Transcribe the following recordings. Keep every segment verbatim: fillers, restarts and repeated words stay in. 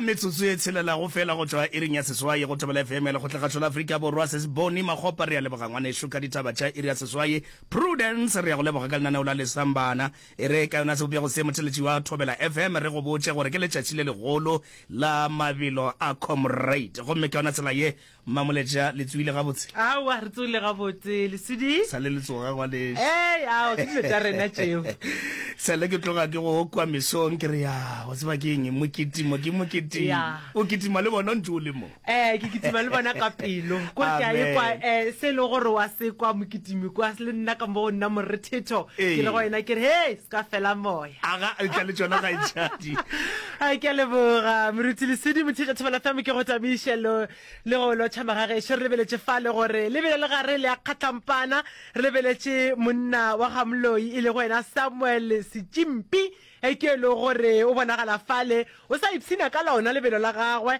Ya metsotso e tshelelago fela go tšwa iring ya seswai go Thobela F M ya Lekgotlakgašo la Afrika Borwa. Se se bone Makgopa, re a leboga ngwanešu ka ditaba tša iri ya seswai. Prudence, re a go leboga ka lenaneo la Lesambana. E re ka yona sebopego se motheletši wa Thobela F M re go botše gore ke letšatši le legolo la mabelo a Comrade. Gomme ka yona tsela ye, Mmamoletša, le tsoile gabotse? Aowa, re tsoile gabotse, Lesodi. Sa le le tsoga ngwanešu. Ee, ao, ke dilo tša rena tšeo. Sa le ke tloga ke go kwa mesong ke re, ya, wa tseba ke eng, mokitimo ke mokitimo. Ya. O kitima le bona o ntše o le mo. Ee, ke kitima le bona ka pelo. Ko re ke a ekwa, eh, se e lego gore wa se kwa mokitimi kwa, le nna ka mo go nna morethetho, ke le go yena ke re, hei, se ka fela moya. Aga, tla le tšona kgaetšadi. Ai, ke a leboga, Moruti Lesodi, motheetša Thobela F M, ke go tamiše lo. Le go lotšha magagešo, re lebeletše fale gore le bile le gare le a kgatlampana. Re lebeletše monna wa ga Moloi e lego yena Samuel Setšimpi, ke e lego gore o bonagala fale o sa ipshina ka lona lebelo la gagwe.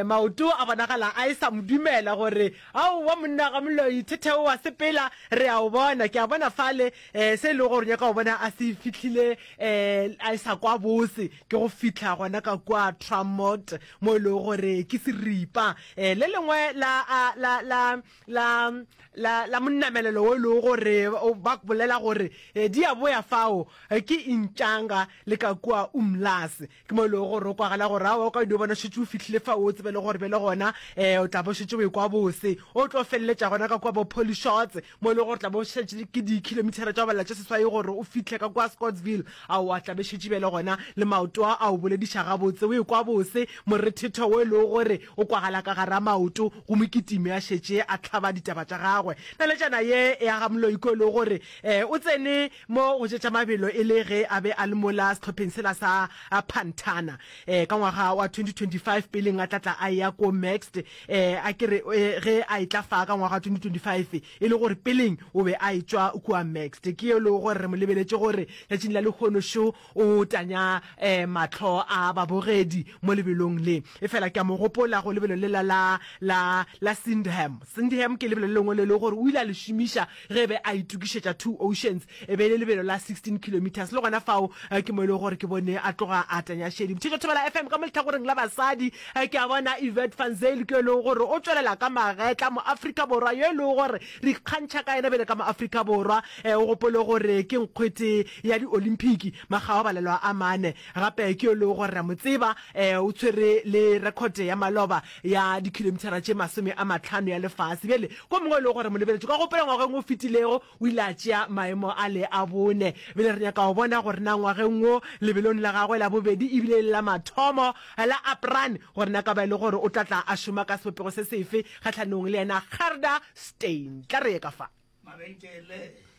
Maoto a bonagala a e sa mo dumela gore aowa monna ga Moloi thetheo wa sepela, re a o bona. Ke a bona fale se e lego gore o nyaka go bona a se fihlile a e sa kwa bose ke go fihla gona ka kua Tramot mo e lego gore ke seripa le lengwe la, la, la, la, la, la monamelelo wo e lego gore ba bolela gore di a boya fao ke Intšanga le ka kua Umlaas. Ke mo e lego gore o kwagala gore aowa o ka dio bona o šetše o fihlile fao o tsebe le gore bjale gona o tla bo šetše o ekwa bose. O tlo feleletša gona ka kua bo Polly Shorts mo e lego gore tla bo šetše ke dikhilomithara tša go balela tše seswai gore o fihle ka kua Scottsville. Aowa tla be šetše bjale gona le maoto a a o bolediša gabotse o ekwa bose morethetho wo e lego gore o kwagala ka gara maoto go mokitimi a šetše a hlaba ditaba tša gagwe. Naletšana ye ya ga Moloi ko e lego gore o tsene mo go tše tša mabelo e le ge a be a le mola sehlopheng sela sa Pantana ka ngwaga wa twenty twenty-five peleng a tla tla a eya ko Maxed a ke re ge a etla fa ka ngwaga wa twenty twenty-five e le gore peleng o be a etšwa kua Maxed. Ke yo e lego gore re mo lebeletše gore letšatšing la lehono šo o tanya mahlo a babogedi mo lebelong le. Efela ke a mo gopola go lebelo lela la, la, la Sindham. Sindham ke lebelo le lengwe le e lego gore o ile a le šomiša ge e be a itokišetša Two Oceans. E be e le lebelo la sixteen kilometres. Le gona fao ke mo e lego gore ke bone a tloga a tanya šedi. Motšhetšo Thobela F M ka mo lehlakoreng la basadi ke a bona Yvette van Zyl ke yo e lego gore o tšwelela ka magetla, Moafrika Borwa yo e lego gore re ikgantšha ka yena bjale ka Moafrika Borwa. O gopole gore ke nkgwete ya di-Olymphiki makga wa balelwa a mane. Gape ke yo e lego gore re a mo tseba, o tshwere le rekhote ya maloba ya dikhilomithara tše masome a mahlano ya lefase. Bjale, ko mongwe e lego gore mo lebeletše, ka gopola ngwageng o fetilego o ile a tšea maemo a le a bone. Bjale re nyaka go bona gore na ngwageng wo, lebelong la gagwe la bobedi ebile e le la mathomo la Aprun, gore na ka ba e le gore o tla tla a šoma ka sebopego se sefe kgahlanong le yena Gerda Steyn. Tla re ye ka fa. Mabenkele.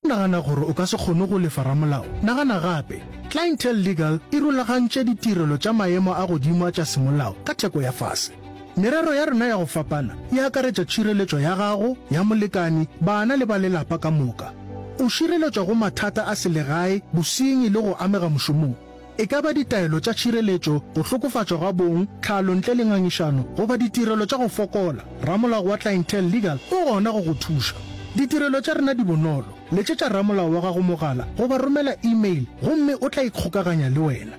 O nagana gore o ka se kgone go lefa ramolao? Nagana gape. Clientele Legal e rulagantše ditirelo tša maemo a godimo a tša semolao ka theko ya fase. Merero ya rena ya go fapana e akaretša tšhireletšo ya gago, ya molekani, bana le ba lelapa ka moka. O šireletšwa go mathata a selegae, bosenyi le go amega mošomong. E ka ba ditaelo tša tšhireletšo, go hlokofatšwa ga bong, tlhalo ntle le ngangišano, goba ditirelo tša go fokola, ramolao wa Clientele Legal o gona go go thuša. Ditirelo tša rena di bonolo, letšetša ramolao wa gago mogala goba romela email gomme o tla ikgokaganya le wena.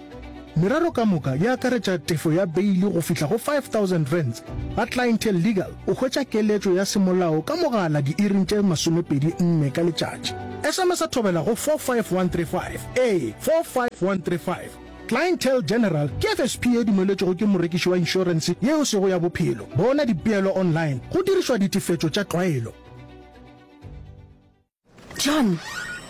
Merero ka moka e akaretša tefo ya beili go fihla go five thousand rands. Ga Clientele Legal o hwetša keletšo ya semolao ka mogala diiring tše masomepedi nne ka letšatši. S M S a thobela go four five one three five. Ee, four five one three five. Clientele General ke F S P ye dumeletšwego ke morekiši wa inšorense ye e sego ya bophelo. Bona dipeelo online go dirišwa ditefetšo tša tlwaelo. John,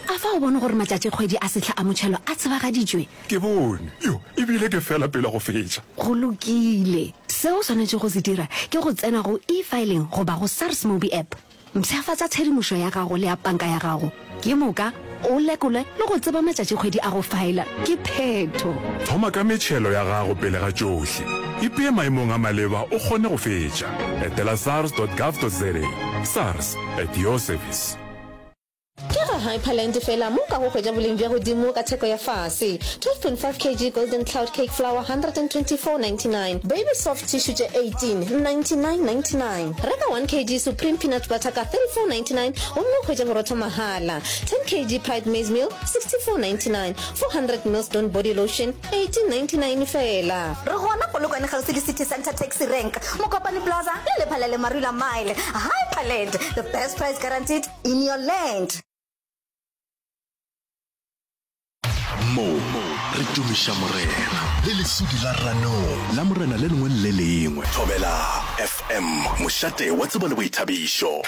a fa o bone gore matšatšikgwedi a sehla a motšhelo a tsebagaditšwe? Ke bone. Yo, e bile ke fela pele go fetša. Go lokile. Se o swanetšego go se dira ke go tsena go eFiling goba go SARS Mobi App. Mpshafatša tshedimošo ya gago le ya panka ya gago. Ke moka o lekole le go tseba matšatšikgwedi a go faela. Ke phetho. Thoma ka metšhelo ya gago pele ga tšohle. Ipee maemong a maleba o kgone go fetša. Etela sars dot gov dot za. SARS, at your service. Ke ka Hyperland fela mo o kago hwetša boleng bja godimo ka theko ya fase. twelve point five kg Golden Cloud Cake Flour one hundred twenty four ninety nine, Baby Soft Tissue tše eighteen ninety nine ninety nine. Reka one kg Supreme Peanut Butter ka thirty four ninety nine gomme o hwetše borotho mahala. ten kg Pride Maize Meal sixty four ninety nine, four hundred mils Dawn Body Lotion eighteen ninety nine fela. Re gona Polokwane kgauswi le City Centre Taxi Rank, Mokopane Plaza le Lephalale Marula Mile. Hyperland, the best price guaranteed in your land. Mo re tumiša Morena le lesudi la ranong la Morena le lengwe le le lengwe. Thobela F M, mošate wa tsebo le boithabišo.